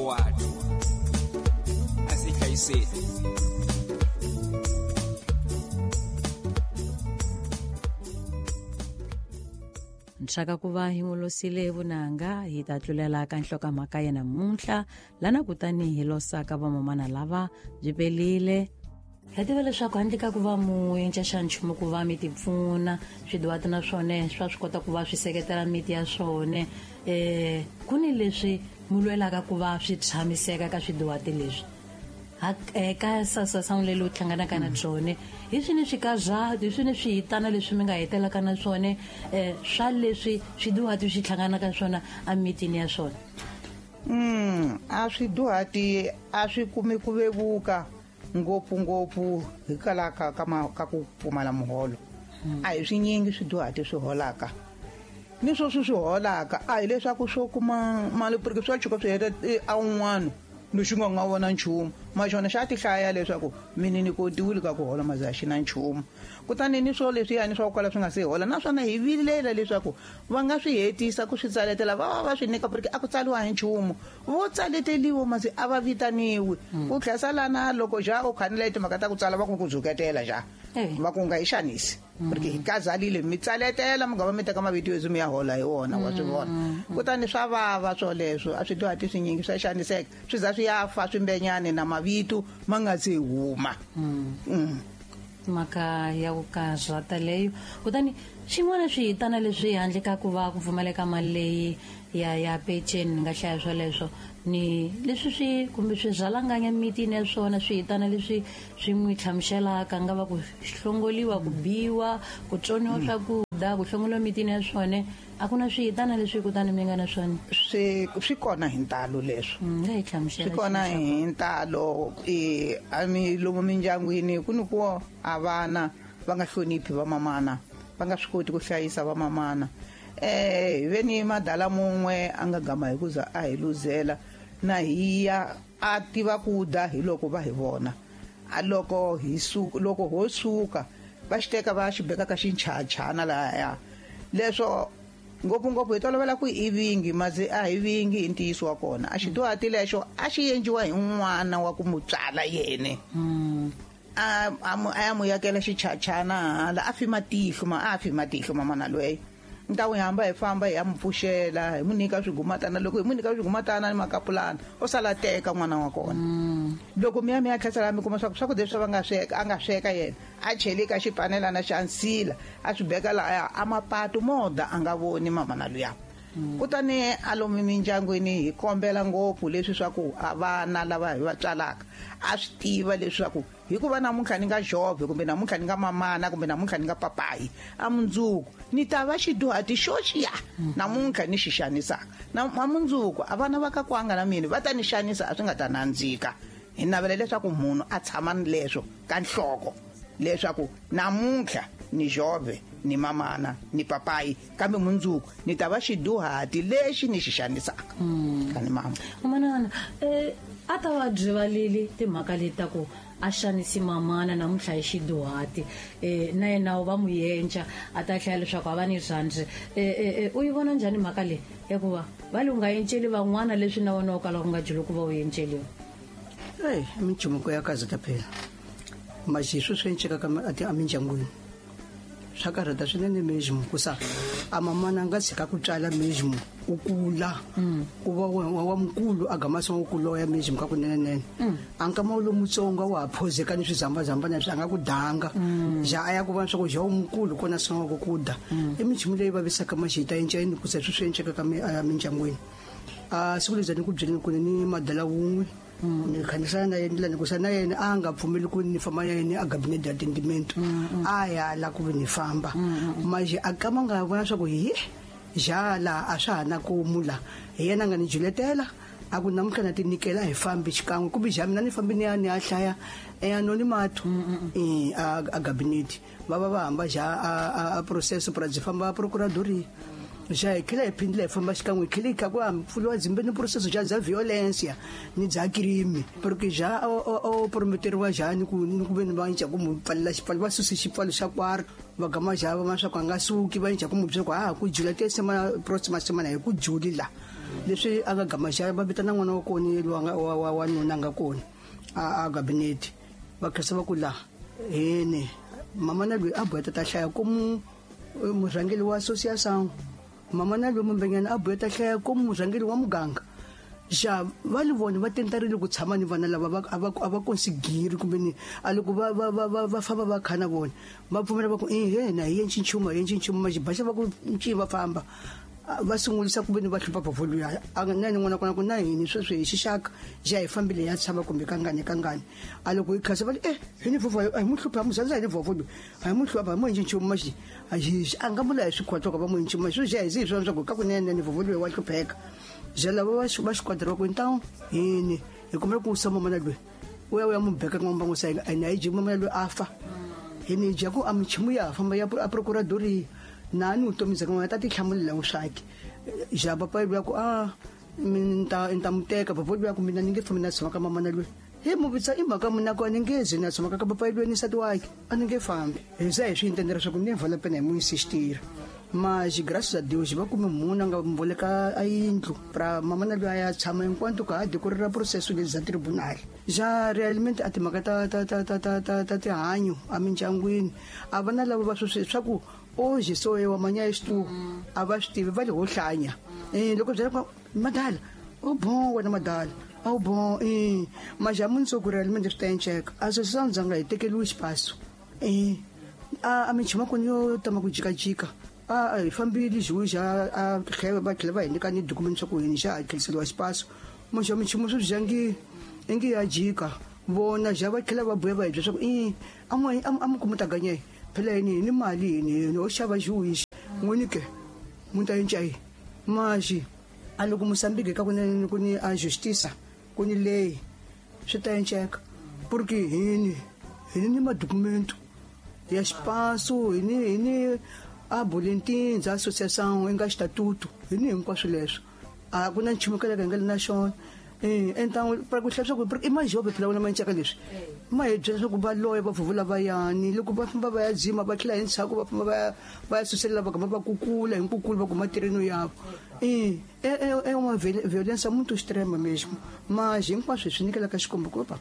Forward. Asihlayiseni. Nxaka ku va hi n'wi losile vunanga hi ta tlulela ka nhlokomhaka ya namuntlha lana kutani hi losaka vamamana lava byi pelile. Ha tiva leswaku handle ka ku va mu endla xa nchumu ku va mi ti pfuna swidiwati na swona swa swi kota ku va swi seketela miti ya swona, ku ni leswi mu lwelaka ku va swi tshamiseka ka swidiwati leswi ka sasasamule lowu hlanganaka na byone. Hi swini swikazati, hi swini swihitana leswi mi nga hetelaka na swona, swa leswi swidiwati swi hlanganaka swona emitini ya swona? A swiduhati a swi kumi ku vevuka ngopfungopfu hikwalaho ka ku pfumala muholo. A hi swinyingi swiduhati swi holaka. Ni sweswi swi holaka a hi leswaku swo kuma mali porque swa tshuka swi heta a un'wana lexi nga nga vona nchumu. Maxona xa ti hlaya leswaku mina ni kotiwile ka ku hola maze a xi na nchumu. Kutani ni swo leswiyani swa ku kala swi nga se hola naswona hi vilela leswaku va nga swi hetisa ku swi tsaletela va va va swi nyika porque a ku tsariwa hi nchumu. Vo tsaleteliwa masi a va vitaniwi. Ku tlhela lana loko ja u khanela timhaka ta ku tsala va ku ku dzuketela ja. Va ku nga hi xanisi. Porque hi kazalile mi tsaletela mi nga va mi teka mavito yo mi ya hola hi wona wa swi vona. Kutani swa vava swoleswo a swi dyohati swinyingi swa xaniseka swi za swi ya fa swimbenyane na mavito ma nga se huma. Mhaka ya ku karhata leyo. Kutani xin'wana swihitana leswi handle ka ku va ku pfumaleka mali leyi ya peceni ni nga hlaya swoleswo ni leswi swi kumbe swi rhalanganya mitini ya swona swihitana leswi swi n'wi hlamuselaka nga va ku hlongoliwa, ku biwa, ku tsoniwa swakudya, ku hlongoliwa mitini ya swona. A ku na swihitana leswi kutani mi nga na swona? Swi kona hi ntalo leswo. Nga hi hlamusela Swi kona xin'we xa hi ntalo. A mi lomu mindyangwini ku ni ku a vana va nga hloniphi va mamana, va nga swi koti ku hlayisa va mamana. Hi ve ni madala mun'we a nga gama hi ku za a hi luzela na hi ya a tiva ku dya hi loko va hi vona. A loko hi suka, loko ho suka va xi teka va xi beka ka xinchachana lahaya. Leswo ngopfungopfu hi tolovela ku i vingi, maze a hi vingi hi ntiyiso wa kona. A xiduhati lexo a xi endliwa hi n'wana wa ku mu tswala yene. A ya mu yakela xichachana hala, a fi matihlo ma, a fi matihlo mamana loyi. Ni ta n'wi hamba hi famba hi ya mu pfuxela, hi mu nyika swigumatana. Loko hi mu nyika swigumatana ni makapulana, o sala teka n'wana wa kona. Loko mi ya mi ya tlhasela mi kuma swa ku swakudya leswi va nga sweka, a nga sweka yena, a chele ka xipanelana xa nsila, a swi beka lahaya, a mapatu mo dya a nga voni mamana luya. Kutani a lomu mindyangwini hi kombela ngopfu leswi swa ku a vana lava hi va tswalaka a swi tiva leswaku hikuva namuntlha ni nga jove kumbe namuntlha ni nga mamana kumbe namuntlha ni nga papayi, a mundzuku ni ta va xiduhati xo xiya namuntlha ni xi xanisaka. Na a mundzuku a vana va ka kwanga na mina va ta ni xanisa, a swi nga ta nandzika. Hi navela leswaku munhu a tshama ni leswo ka nhloko leswaku namuntlha ni jove ni mamana ni papayi, kambe mundzuku ni ta va xiduhati lexi ni xi xanisaka. Kani mama. Manana, a ta va byivalile timhaka leti ta ku a xanisi mamana namuntlha hi xiduhati, na yena va mu yenca a ta hlaya leswaku a va ni rhandzi. U yi vona njhani mhaka leyi ya ku va va li u nga enceli van'wana leswi na wena u kala u nga byeli ku va u enceliwa? Eyi, i minchumu ya kahle phela. Maxi sweswi swi enceka ka a mindyangwini. Swa karhata swinene mejimo ku sa a mamana a nga tshika ku tswala mejimo u kula. U va wa mukulu a gama swa ku loya mejimo ka kunene. A nkama wu lomutsongo wa ha phozeka ni swizambazambana leswi a nga ku danga. Ja a ya ku vona swa ku ja u mukulu kona swa ku ku da. I minchumu leyi vavisaka maxita yi nceni ku se swi swi enceka ka a mindyangwini. A siku leri ni ku byeleni ku ni madala wun'we. Ni khanisana na yena ndlela ni ku sa na yena a nga pfumeli ku ni famba na yena a gabinete ya tendimento. A ya la ku ni famba. Manje a kama nga vona swa ku hi jala a swa ha na ku mula. Hi yena a nga ni juletela a ku namuntlha na ti nyikela hi fambi xikan'we kumbe ja mina ni fambi ni ya ni ya hlaya e anonimato. A gabinete. Va va va hamba ja a processo pra byi famba procuradoria. Ja hi tlhela hi phindile hi famba xikan'we hi tlhela hi kha ku pfuriwa dzimbe ni processo ja bya violence ni bya crime. Porque ja o prometeriwa ja ni ku ni ku ve ni va nca ku mu pfalela xipfalo, va suse xipfalo xa kwari, va gama ja va swa ku a nga suki, va nca ku mu byela ku ha ku jula te semana próxima semana hi ku juli la. Leswi a nga gama xa va vitana n'wana wa kona loyi a nga wa nuna a nga kona a gabinete va khensa va ku la hene mamana loyi a boheta ta hlaya ku murhangeri wa association, mamana loyi mumbenyana a boheta hlaya ku murhangeri wa muganga. Xa va li vona va tentarile ku tshama ni vana lava a va konsigiri kumbe ni a loko va famba va khana vona va pfumela va ku na hi yenci nchumu hi yenci nchumu maxibaxa va ku nci va famba va sungulisa kumbe ni va hlupha vovho luya a na ni n'wana kona ku na hini sweswi hi xixaka xa hi fambile ya tshama kumbe kangani kangani a loko hi khasa va li hi ni vovho a hi mu hlupha muzandza hi ni vovho loyi a hi mu hlupha hi mu endli nchumu maxi a nga mula hi swikhotlo ka va mu endli nchumu sweswi xa hi zi hi swona swa ku ka kunene ni vovho loyi wa hlupheka. Ja lava va xikwadi va ku então hini hi kombela ku wisa mamana loyi u ya u ya mu beka ka mbangu sa na hi ji mamana loyi a fa hini ja ku a michumu ya famba ya a procuradoria na ni vutomi bya n'wana ta tihlamulela swaki. Ja papa loyi ku a ni ta mu teka papa loyi ku mina ni nge fambi na tshama ka mamana loyi hi mu vitsa i mhaka mina ku a ni nge zi na tshama ka papa loyi ni nsati wakhe a ni nge fambi hi za hi swi intendela swa ku ni vale a pena hi mu insistira. Mas graças a Deus va kume munhu a nga mboleka a yindlu pra mamana loyi a ya tshama enquanto ka ha decorrera processo leti za tribunal. Ja realmente a timhaka ta tihanyo emindyangwini a vana lava va sweswi swa ku hoje sou eu amanhã és tu a va swi tivi va le ho hlanya. Loko byela ku madala o bom wena madala o bom mas ja mundzuku realmente swi ta enceka a swi sandzanga hi tekeriwe xipaso a minchumu kona yo tama ku jikajika a hi fambile juiz a tlhela va tlhela va hi nyika ni document swa ku hini xa hakeriseriwa xipaso muxa minchumu swi byangi ingi ya jika vona ja va tlhela va buya va hi byela swa ku a mi kuma ta ganye phela yini ni mali yini ho xava juiz n'wini ke mu ta yenca yi maxi a loko Moçambique ka kunene ku ni a justiça ku ni leyi swi ta enceka porque hini ni madocumento ya xipaso hini a boletim za associação nga estatuto hini hinkwaswo leswo a ku na nchumu ka nga na xona. Então para ku hlaya swa ku i majove phela wona manceka leswi ma hi byela swa ku va loya va vuvula va yani loko va famba va ya dzima va tlhela hi ndzhaku va famba va ya suselela va gama va kukula hi nkukulu va kuma terreno yavo. É uma violência muito extrema mesmo, mas hinkwaswo hi swi nyikela ka Xikwembu ku va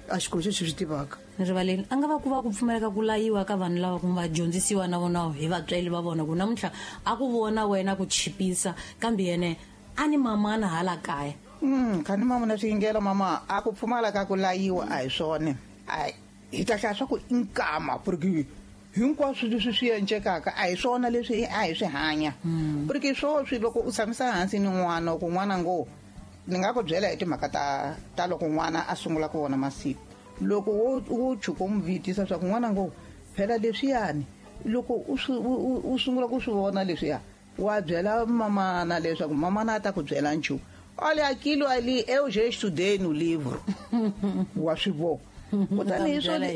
a Xikwembu xi swi tivaka. Rivaleni a nga va ku va ku pfumeleka ku layiwa ka vanhu lava ku va dyondzisiwa na vona hi vatswari va vona ku namuntlha a ku vona wena ku chipisa kambe yene a ni mamana hala kaya. Khani mama na swiyingela mama a ku pfumala ka ku layiwa a hi swona hi ta hlaya swa ku i nkama porque hinkwaswo leswi swi encekaka a hi swona leswi a hi swi hanya. Porque swoswi loko u tshamisa hansi ni n'wana ku n'wana ngo ni nga ku byela hi timhaka ta loko n'wana a sungula ku vona masiku loko wo tshuka u mu vitisa swa ku n'wana ngo phela leswiyani loko u sungula ku swi vona leswiya wa byela mamana leswaku mamana a ta ku byela nchumu. Olha aquilo ali, eu já estudei no livro. Wa swi vona. Kutani hi swona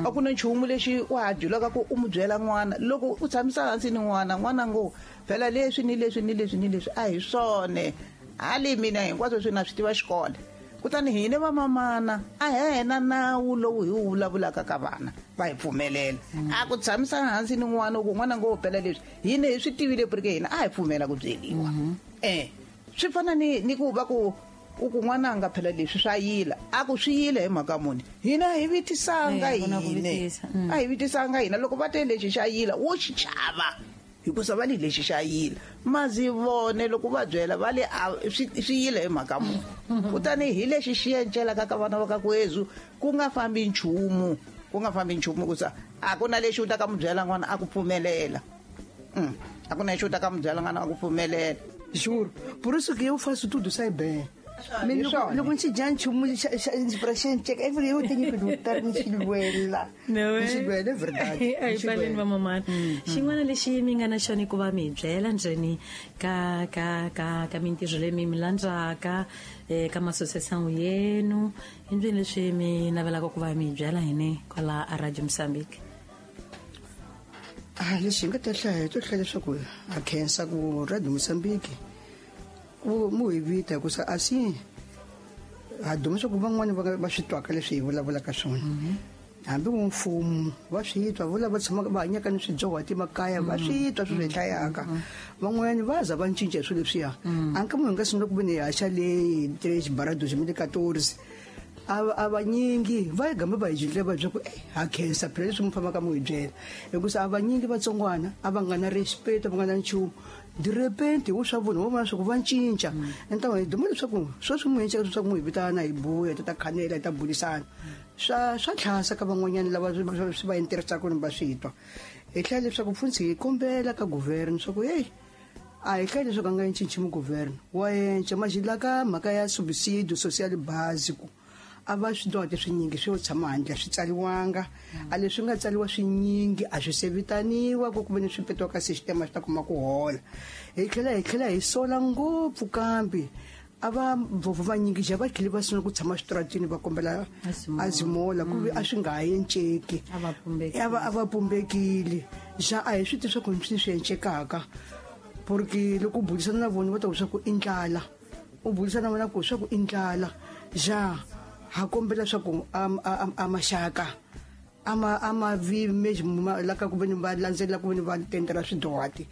a ku na nchumu lexi wa ha byelaka ku u mu byela n'wana loko u tshamisa hansi ni n'wana n'wana ngo phela leswi ni leswi ni leswi ni leswi a hi swona hali mina hinkwaswo swi na swi tiva xikolo. Kutani hina vamamana a hena nawu lowu hi wu vulavulaka ka vana va hi pfumelela a ku tshamisa hansi ni n'wana ku n'wana ngo phela leswi hina hi swi tivile porque hina a hi pfumela ku byeliwa. Swi fana ni ku va ku u ku n'wana nga phela leswi swa yila a ku swi yile hi mhaka muni hina hi vitisanga hina a hi vitisanga hina loko va te lexi xa yila wo xi chava hikusa va li lexi xa yila mazi vone loko va byela va le swi yile hi mhaka muni. Kutani hi lexi xi encelaka ka vana va ka kwezu ku nga fambi nchumu ku sa a ku na lexi u ta ka mu byela n'wana a ku pfumelela. A ku na lexi u ta ka mu byela n'wana a ku pfumelela. Juro, por isso que eu faço tudo sai bem. Loko ndzi dya nchumu pra xenceka eu tenho que lutar ni xilwela. Ni xilwela é verdade. A hi pfaleni va mamana. Xin'wana lexi mi nga na xona ku va mi hi byela ndzeni ka ka ka ka mintirho leyi mi mi landzaka ka masosesão yenu i ndzeni leswi mi navelaka ku va mi hi byela hini kwala a Radio Moçambique. Lexi hi nga ta hlaya hi to hlaya leswaku ha khensa ku Radio Moçambique ku mu hi vita hikusa asi ha duma swa ku van'wani va swi twaka leswi hi vulavulaka swona. Hambi mfumo va swi twa vula va tshamaka va hanyaka ni swidyoho emakaya va swi twa swilo hlayaka. Van'wanyana va za va cinca swilo leswiya. A nka munhu nga sungula ku ve ni haxa le 3 barra 2014 a vanyingi va gamba va hi jindle va ku ha khensa phela leswi mi fambaka mi hi byela. Hikusa a vanyingi vatsongwana a va nga na respect, va nga na nchumu. De repente u swa vona va vona swa ku va cinca. Enta hi duma leswaku sweswi mu cinca leswaku mu hi vitana hi buya ta khanela ta bulisana. Swa tlhasa ka van'wanyana lava swi va interesaka ni va swi twa. Hi tlhela leswaku mfundhisi hi kombela ka governor swa ku hey a hi tlhela leswaku a nga cinci mu governor wa enca majila ka mhaka ya subsidio social básico. A va swi dyoho swinyingi swi yo tshama handle swi tsariwanga. A leswi nga tsariwa swinyingi a swi sevitaniwa ku kuve ni swi petiwa ka system swi ta kuma ku hola. Hi tlhela hi sola ngopfu kambe a va vovo vanyingi ja va tlhele va sungula ku tshama switaratini va kombela azimola ku a swi nga ha enceki. A va pumbekile. Ja a hi swi tivi swa ku swi encekaka. Porque loko u burisana na vona va ta ku swa ku i ndlala. U burisana na vona ku swa ku i ndlala. Ja ha kombela swa ku a maxaka ama vi la ka ku ve ni va landzelela ku ve ni va tendela swidyohati.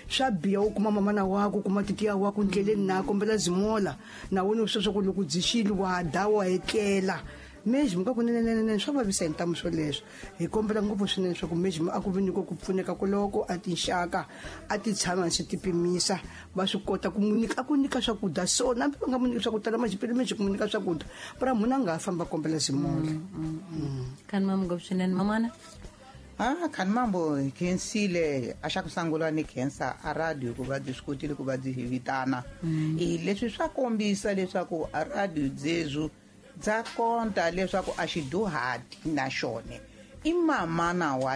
Swa biha u kuma mamana wako kuma titiya wako ndleleni na kombela zimola na wena sweswo ku loko dzixile wa da wa etlela. Mejimo ka kunene swa vavisa hi ntamu swoleswo. Hi kombela ngopfu swinene swa ku mejimo a ku vi ni ku pfuneka koloko a tinxaka a ti tshama swi ti pimisa va swi kota ku nyika ku nyika swakudya so na va nga mu nyika swakudya la majipele mejimo ku nyika swakudya pra munhu a nga famba kombela zimola. Kan mam ngopfu swinene mamana. Kan mambo khensile a xa ku sungula ni khensa a radio ku va byi swi kotile ku va byi hi vitana. Leswi swa kombisa leswaku a radio dzezu dza konta leswaku a xidyuhati na xone i mamana wa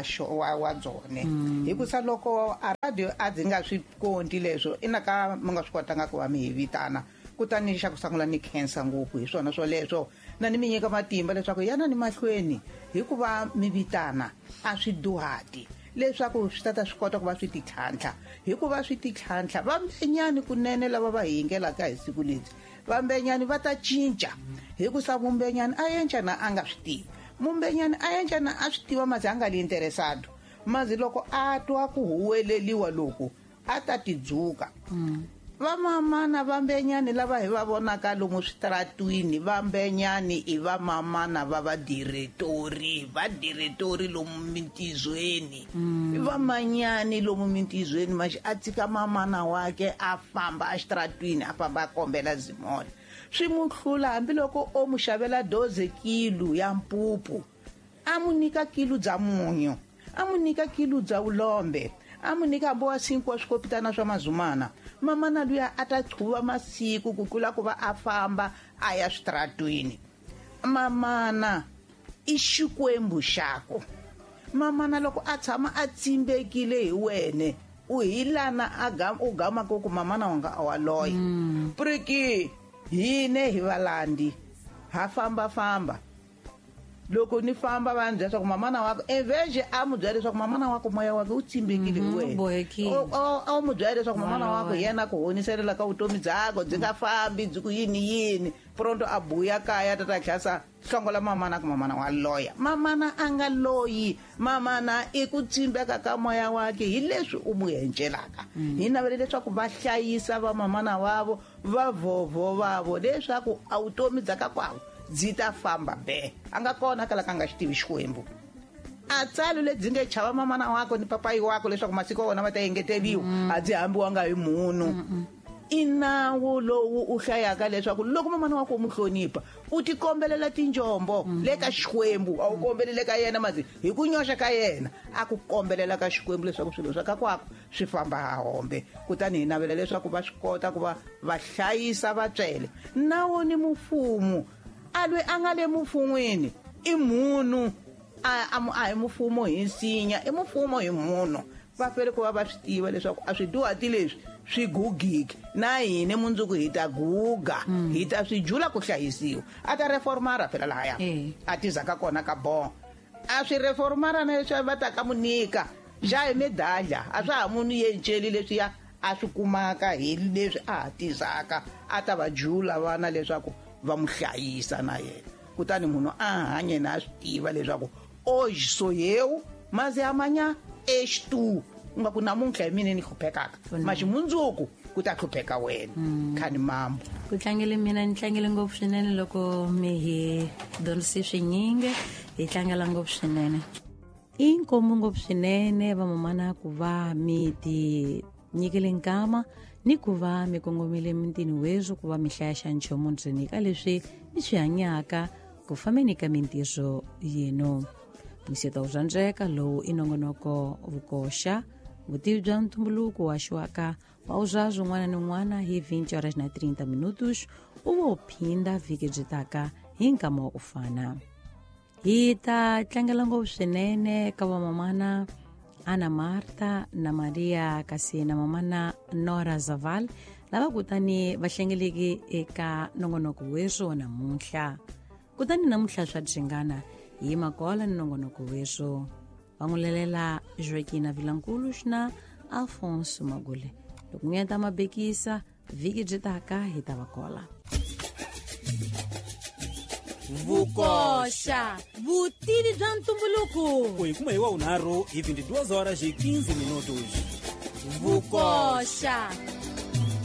wa byone. Hikusa loko a radio a dzi nga swi konti leswo ina ka mi nga swi kotanga ku va mi hi vitana. Kutani xa ku sungula ni khensa ngopfu hi swona swoleswo na ni mi nyika matimba leswaku yana ni mahlweni hikuva mi vitana a swidyuhati leswaku swi tata swi kota ku va swi titlhantlha. Hikuva swi titlhantlha vambenyani kunene lava va hi yingelaka hi siku lebyi vambenyani va ta cinca. Hikusa mumbenyani a enca na a nga swi tivi. Mumbenyani a enca na a swi tiva mazi a nga li interesado. Mazi loko a twa ku huweleliwa loku a ta tidzuka. Vamamana vambenyani lava hi va vonaka lomu switaratwini vambenyani i vamamana va vadiretori vadiretori lomu mintizweni. Vamanyani lomu mintizweni maxi a tshika mamana wake a famba exitaratwini a famba a kombela zimola. Swi mu hlula hambiloko o mu xavela 12 kilo ya mpupu a mu nyika kilo bya munyu a mu nyika kilo bya vulombe a mu nyika hambi wa 5 wa swikopitana swa mazumana. Mamana luya a ta qhuva masiku ku tlula ku va a famba a ya switaratwini. Mamana i xikwembu xako. Mamana loko a tshama a tsimbekile hi wene u hi lana u gamaka ku mamana wanga a wa loya. Priki hine hi valandi ha famba famba. Loko ni famba va ndzi leswaku mamana wako eveje a mu byela leswaku mamana wako moya wake wu tsimbekile hi wena. A mu byela leswaku mamana wako yena ku honiselela ka vutomi byakwe byi nga fambi byi ku yini yini. Pronto a buya kaya tata tlhasa hlongola mamana ku mamana wa loya. Mamana a nga loyi. Mamana i ku tsimbeka ka moya wake hi leswi u mu encelaka. Hi navele leswaku va hlayisa va mamana wavo va vhovho vavo leswaku a vutomi bya ka kwavo byi ta famba be. A nga kona kala ka nga xi tivi Xikwembu. A tsalo lebyi nge chava mamana wako ni papayi wako leswaku masiku ya wona ma ta engeteriwa a byi hambiwanga hi munhu. I nawu lowu u hlayaka leswaku loko mamana wako u mu hlonipha u tikombelela tinjombo le ka Xikwembu a wu kombelele ka yena mazi hi ku nyoxa ka yena a ku kombelela ka Xikwembu leswaku swilo swa ka kwako swi famba ha hombe. Kutani hi navela leswaku va swi kota ku va va hlayisa vatswele. Nawu ni mufumo a lwe a nga le mufun'wini i munhu a hi mufumo hi nsinya i mufumo hi munhu. Va fanele ku va va swi tiva leswaku a swidyuhati leswi swi gugiki na hina mundzuku hi ta guga hi ta swi jula ku hlayisiwa. A ta reformara phela lahaya a tizaka kona ka bon a swi reformara na leswi va ta ka mu nyika ja hi medalha a swa ha munhu yenceli leswiya a swi kumaka hi leswi a ha tizaka a ta va jula vana leswaku va mu hlayisa na yena. Kutani munhu a hanye na a swi tiva leswaku Hoje sou eu, mas é amanhã és tu. U nga ku namuntlha hi mina ni hluphekaka, mas mundzuku ku ta hlupheka wena. Khani mambo. Ku tlangele mina ni tlangele ngopfu swinene loko mi hi dyondzise swinyingi, hi tlangela ngopfu swinene. I nkombo ngopfu swinene vamamana ku va mi ti nyikele nkama ni ku va mi kongomile mintini weswo ku va mi hlaya xa nchumu ndzeni ka leswi mi swi hanyaka ku fambeni ka mintirho yenu. Mwiseta wu rhandzeka lowu i nongonoko vukoxa vutivi bya ntumbuluko wa xiwaka wa uzwazi un'wana ni un'wana hi 20 horas na 30 minutos u vo phinda vhiki byi taka hi nkama wa ku fana. Hi ta tlangela ngopfu swinene ka vamamana Ana Marta na Maria kasi na mamana Nora Zaval lava kutani va hlengeleke eka nongonoko weswo namuntlha. Kutani namuntlha swa dyingana hi yima kola ni nongonoko weswo. Va n'wi lelela Joaquina Vilankulu na Alfonso Magule. Loko n'wi ta mabekisa vhiki byi taka hi ta va kola. Vukoxa vutivi bya ntumbuluko. U hi kuma hi wa vunharhu hi 22 horas e 15 minutos. Vukoxa.